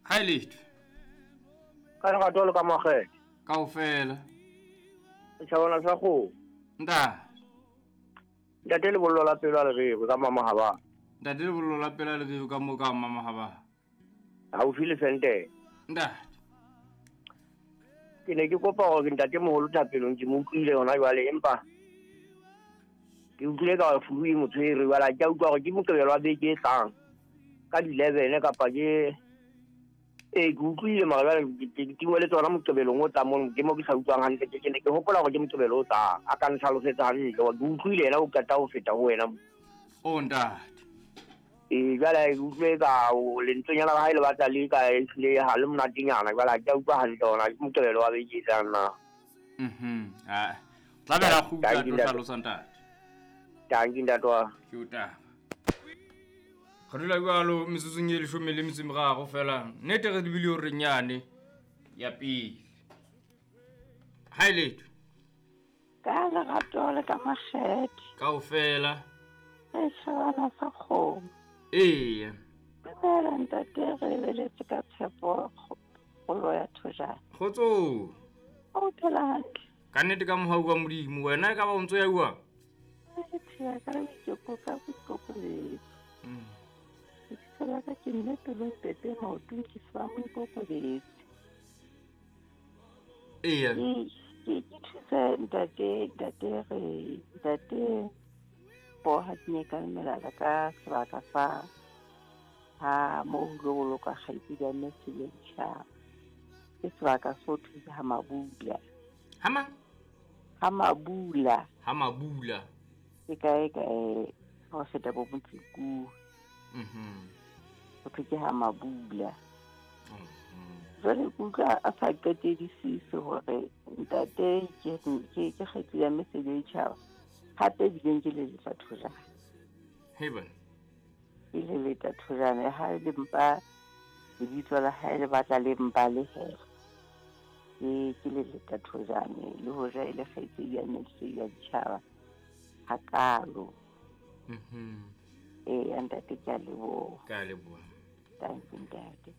Ha e letho. Ka lerato le ka makgethe. Kaofela. Setjhabana sa kgomo. Ntate. Ntate lebollo la pelo a le rerwe ka Mamahaba. Ntate lebollo la pelo a le rerwe ka mo ka Mamahaba. Haufi le Sentene. Ntate. Ke ne ke kopa hore ntate moholo thapelong ke mo utlwile hona jwale empa ke utlwile ka hore flu e mo tshwere jwale ha ke a utlwa hore ke Moqebelo wa beke e tlang ka di-11 kapa ke ee ke utlwile mara jwale ke tingwe le tsona Moqebelong o tlang mono ke mo ke sa utlwang hantle ke ne ke hopola hore ke Moqebelo o tlang a ka ntlhalosetsa hantle ke utlwile yena o qeta ho feta ho wena. O ntate. Ee jwale ke utlwe ka lentswenyana la hae le batla le ka ehlile ha le monatenyana jwale ha ke a utlwa hantle hore ke Moqebelo wa beke e tlang na. Ah. Tla bela kgutla tlo hlalosa ntate. Tanki ntate wa. Ke o taba. Re dula jwalo metsotsong e 13 fela. Nnete re lebile hore nyane ya pele. Ha e letho. Ka lerato le ka makgethe. Kaofela. E tjhabana sa kgomo. Eya. Dumela ntate, re lebeletse ka tshepo kgolo ya thojana. Kgotso. O phela hantle. Ka nnete ka mohau wa Modimo, wena e ka ba o ntso ya jwang? Ke phela ka boikoko ka boikokobetso. Lebitso la ka ke mme pelo pepe maotong ke sa moikokobetso. Eya. Ke thuse ntate re ntate bo ha ke ka melala ka sebaka sa ha mo ho boloka kgaitsedi ya mme Selentjha. Ke sebaka so thuse ha Mabula. Ha mang? Ha Mabula. Ha Mabula. Ke kae ho feta bo Motseku. Ho thwe ke ha Mabula. Jwale ke utlwa a sa qetedisise hore ntate ke kgaitsedi ya mme Selentjha. Hape bileng ke le thojana. Heban. Ke le leta thojana ha le mpa lebitso la hae le batla le mpa le he. Ke le leta thojana le hoja e le kgaitsedi ya mme Selentjha hakalo. Ee ntate ke a leboha. Ke a leboha. Thank you ntate.